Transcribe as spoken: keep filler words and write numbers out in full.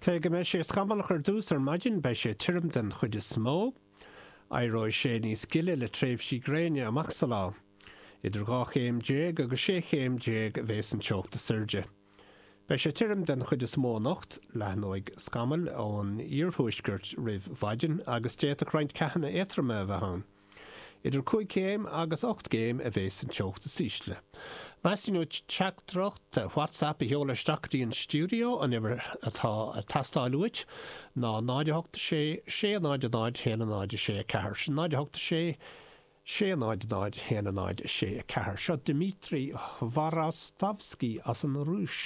Cé go mbeidh sé scamallach ar dtús ar maidin, beidh sé tirim den chuid is mó. Éireoidh sé níos gile le tréimhsí gréine amach sa lá. Idir dhá chéim déag agus sé chéim déag a bheas an teocht is airde. Beidh sé tirim den chuid is mó anocht, leathnóidh scamaill ón iarthuaisceart roimh mhaidin agus d'fhéadfadh roinnt ceathanna éadtroma a bheith ann. Idir cúig chéim agus ocht gcéim a bheas an teocht is ísle. Teastaíonn uait teachtaireacht WhatsApp a sheoladh isteach go dtí an stiúideo, an uimhir atá ag teastáil uait ná náid a hocht a sé, sé a náid a náid, haon a náid a sé a ceathair. Sin náid a hocht a sé, sé a náid a náid, haon a náid a sé a ceathair. Seo Dmitri Hvorostovsky as an Rúis.